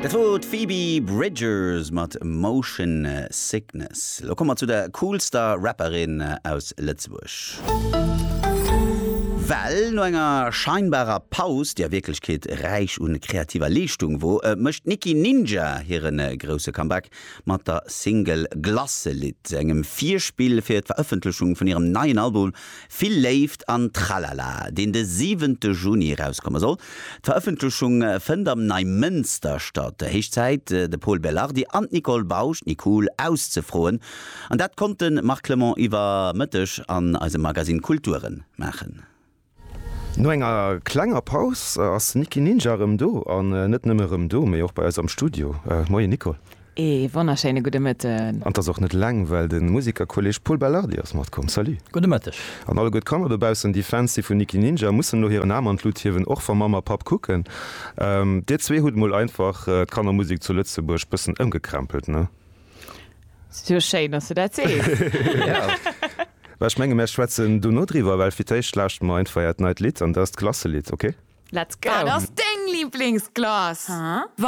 Dat wor d'Phoebe Bridgers mat Motion Sickness. Lo komme mer zu der coolster Rapperin aus Lëtzebuerg. Well no enger scheinbarer Paus, déi a Wierklechkeet räich un kreativer Leeschtung wor, mécht d'Nikki Ninja hire grousse Comeback mat der Single Glasselidd, engem Virspill fir d'Verëffentlechung vun hirem neien Album Vill Léift an Tralala, deen de siwente Juni erauskomme soll. D'Verëffentlechung fënnt am Neimënster statt. Héich Zäit, de Pol Belardi an d'Nicole Bausch, d'Nicool, auszefroen. An dat konnt de Marc Clement iwwer Mëtteg an eisem Magazine Kulturen maachen. No enger klenger Paus ass Nikki Ninja erëm do. An net nëmme erëm do, mee och bei eis am Studio. Moien Nicole. Ee wonnerschéine gudde Mëtten. An 't ass och net eleng, well de Musikerkolleg Pol Belardi ass matkomm. Salut. Gudde Mëtteg. An alleguer d'Kanner dobaussen, déi Fans si vun Nikki Ninja, mussen elo hiren Aarm an d'Lut hiewen, och wa Mamm a Papp kucken. Dir zwee hutt mol einfach d'Kannermusek zu Lëtzebuerg bëssen ëmgekrempelt, ne? Sou schéin, dass du dat sees. Well ech menge mär schwätzen dono driwwer, well fir d'éischt lauschteren mer einfach äert neit Lidd an dat ass d'Klasselidd, ok? Let's go! Wat ass deng Liblingsglace?